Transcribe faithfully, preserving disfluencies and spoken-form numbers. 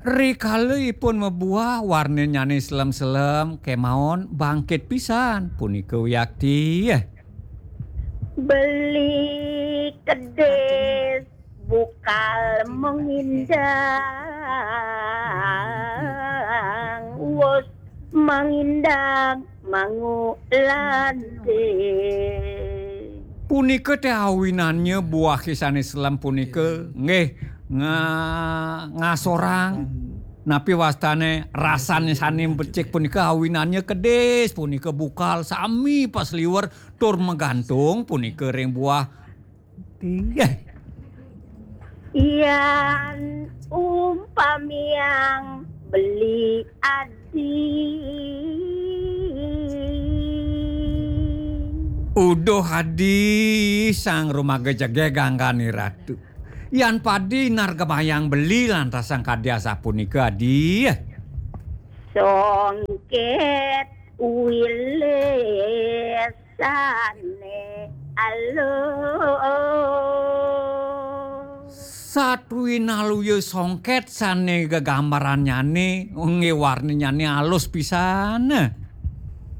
Rikala ipun mabuah, warnannyane selem-selem, kemawon bangkit pisan, punika wiakti. Beli kedis bukal mengindang, wus mengindang mangu lande. Punika teh awinannya buah sane selem punika, nggih, nga-, ngasorang. Napi wastane rasane sane becik punika awinannya kedis, punika bukal sami pasliwer tur magantung punika ring buah. Nggih. Yan umpamiang beli adi. Uduh adi sang rumaga jegeg anggane ratu. Yan padi nargemayang beli lantas sang kadi asapunika adi. Songket wilis sane alus. Satwinaluya songket sane gegambarannyane, nggih warnanyane alus pisan.